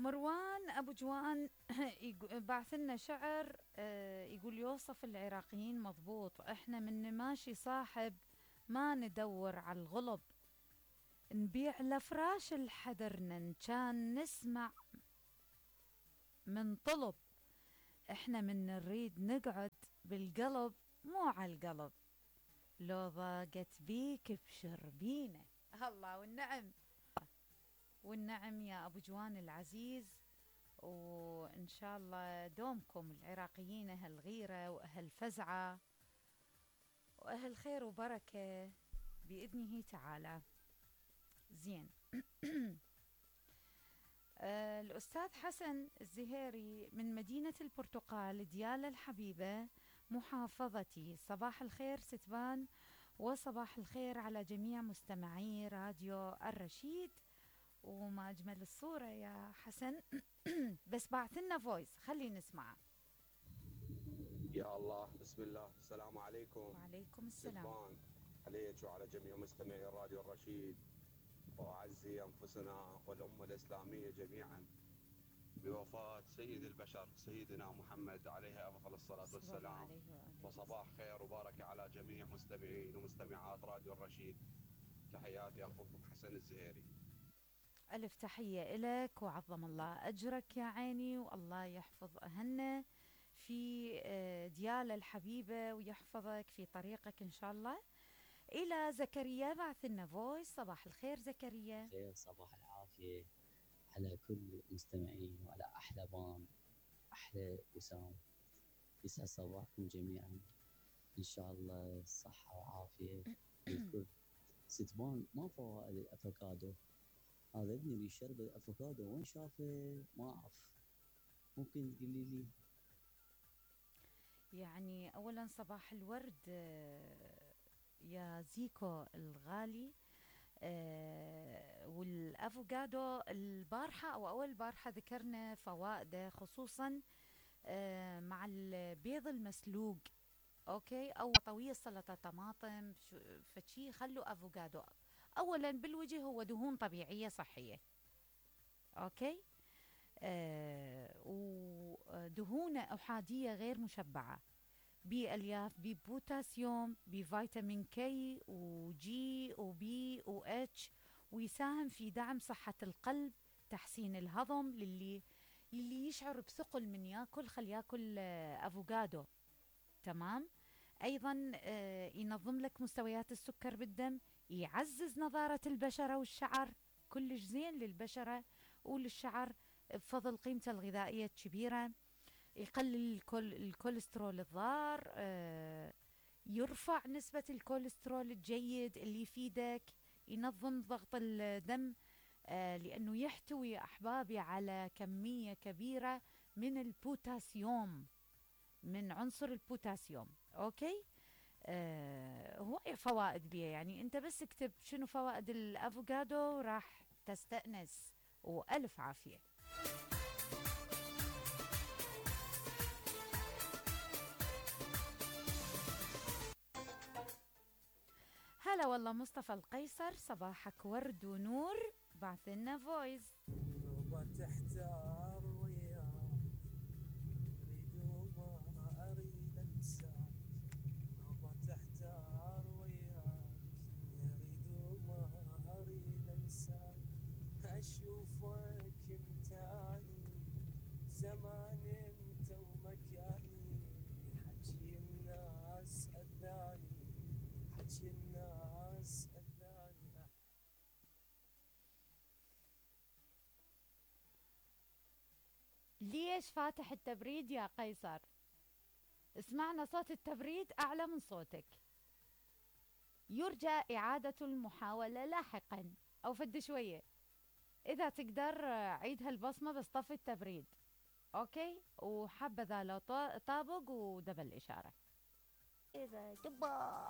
مروان أبو جوان بعث لنا شعر، يقول يوصف العراقيين مضبوط: احنا من نماشي صاحب ما ندور على الغلب، نبيع لفراش الحدرنا كان نسمع من طلب، احنا من نريد نقعد بالقلب مو على القلب، لو ضاقت بيك ابشر بينا. الله والنعم، والنعم يا أبو جوان العزيز. وإن شاء الله دومكم العراقيين أهل غيرة وأهل فزعة وأهل خير وبركة بإذنه تعالى. زين. الأستاذ حسن الزهيري من مدينة البرتقال ديالى الحبيبة محافظتي: صباح الخير ستبان، وصباح الخير على جميع مستمعي راديو الرشيد. وما أجمل الصورة يا حسن. بس بعث لنا فويس خلي نسمعه. يا الله، بسم الله، السلام عليكم. وعليكم السلام. سلمان عليك وعلى جميع مستمعي راديو الرشيد، وأعزي أنفسنا والأمة الإسلامية جميعا بوفاة سيد البشر سيدنا محمد عليه أفضل الصلاة والسلام. وصباح خير وبركة على جميع مستمعين ومستمعات راديو الرشيد. تحياتي أخوكم حسن الزهيري. ألف تحية إلك وعظم الله أجرك يا عيني، والله يحفظ أهلنا في ديالى الحبيبة ويحفظك في طريقك إن شاء الله. إلى زكريا بعث لنا فويس. صباح الخير زكريا. خير، صباح العافية على كل المستمعين وعلى أحلى بان، أحلى وسام. يسعد صباحكم جميعا، إن شاء الله صحة وعافية للكل. ستبان ما فوائد الأفوكادو؟ هذا ابني بيشرب الأفوكادو، وين شافه ما أعرف، ممكن تقولي لي؟ يعني أولا صباح الورد يا زيكو الغالي. والأفوكادو البارحة أو أول بارحة ذكرنا فوائده، خصوصا مع البيض المسلوق، أوكي، أو طويل سلطة طماطم فشي. خلوا أفوكادو أولا بالوجه هو دهون طبيعية صحية، أوكي، ودهون أحادية غير مشبعة، بألياف، ببوتاسيوم، بفيتامين كي وجي وبي واتش، ويساهم في دعم صحة القلب، تحسين الهضم للي يشعر بثقل من ياكل، خل ياكل أفوكادو. تمام. أيضا ينظم لك مستويات السكر بالدم، يعزز نضارة البشرة والشعر، كلش زين للبشرة وللشعر بفضل قيمته الغذائية الكبيرة. يقلل الكوليسترول الضار، يرفع نسبة الكوليسترول الجيد اللي يفيدك، ينظم ضغط الدم، لأنه يحتوي أحبابي على كمية كبيرة من البوتاسيوم، من عنصر البوتاسيوم. أوكي. هواي فوائد بيه، يعني أنت بس اكتب شنو فوائد الأفوكادو راح تستأنس. وألف عافية. هلا والله مصطفى القيصر، صباحك ورد ونور، بعث لنا فويس. نوبة تحتار وياك، اريد وما اريد انساك، نوبة تحتار وياك، اريد وما اريد انساك، اشوفك انتاني زمان انت ومكاني، حكي الناس اذاني، حكي الناس اذاني. ليش فاتح التبريد يا قيصر؟ اسمعنا صوت التبريد أعلى من صوتك. يرجى إعادة المحاولة لاحقا أو فد شوية. إذا تقدر عيد هالبصمة بس طفي التبريد. أوكي. وحبذا لو طابق ودبل إشارة. إذا جبا